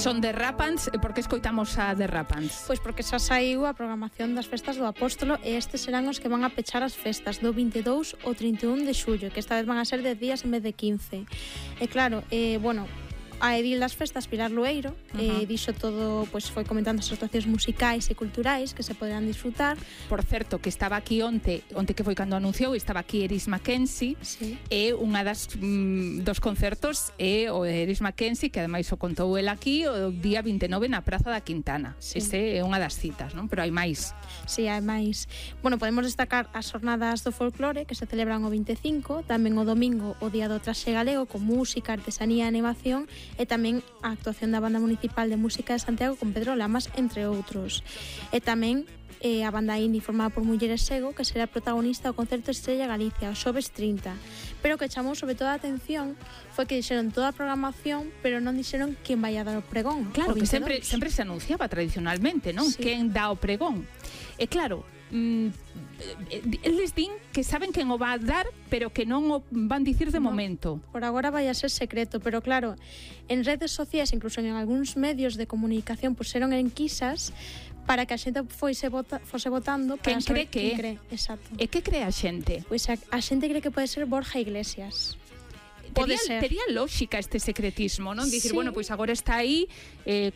Son Derrapants, e por que escoitamos a Derrapants? Pois porque xa saiu a programación das festas do Apóstolo e estes serán os que van a pechar as festas do 22 ao 31 de xullo, que esta vez van a ser 10 días en vez de 15. E claro, bueno, a edil das festas, Pilar Lueiro, dixo todo, pois foi comentando as actuacións musicais e culturais que se poderán disfrutar. Por certo, que estaba aquí onte que foi cando anunciou, estaba aquí Eris Mackenzie, sí. E unha dos concertos é o Eris Mackenzie, que ademais o contou el aquí o día 29 na Praza da Quintana. Sí. Ese é unha das citas, non? Pero hai máis. Sí, hai máis. Bueno, podemos destacar as jornadas do folclore que se celebran o 25, tamén o domingo o Día do Traxe Galego con música, artesanía e animación, e tamén a actuación da Banda Municipal de Música de Santiago con Pedro Lamas, entre outros. E tamén a banda indie formada por Mulleres Sego, que será protagonista do concerto Estrella Galicia, o xoves 30. Pero o que chamou sobre todo a atención foi que dixeron toda a programación, pero non dixeron quen vai a dar o pregón. Claro, o que 22. sempre se anunciaba tradicionalmente, non? Sí. Quen dá o pregón. E claro, eles din que saben quen o va a dar, pero que non o van dicir de momento. Por agora vai a ser secreto, pero claro, en redes sociais, incluso en algúns medios de comunicación, puseron enquisas para que a xente fose votando para Quen cree saber que quen cree. Exacto. E que cree a xente? Pois a xente cree que pode ser Borja Iglesias. Pode ser. Tería lógica este secretismo, non? Dicir, Sí. bueno, pois agora está aí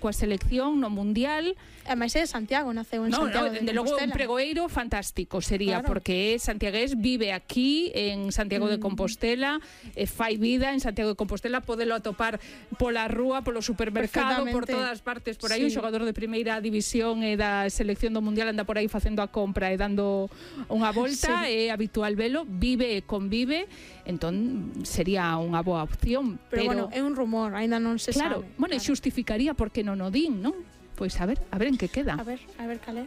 coa selección no Mundial. Ademais é de Santiago, naceu en Santiago de logo un Compostela. pregoeiro fantástico sería, Claro. porque é santiagués, vive aquí en Santiago de Compostela, fai vida en Santiago de Compostela, podelo atopar pola rúa, polo supermercado, por Perfectamente. todas partes por aí. Un Sí. xogador de primeira división e da selección do Mundial anda por aí facendo a compra e dando unha volta, Sí. é habitual velo, vive e convive, entón sería unha boa opción, Pero bueno, é un rumor, aínda non se claro, sabe. bueno, e xustificaría porque non o din, non? Pois a ver en que queda. A ver, cal é.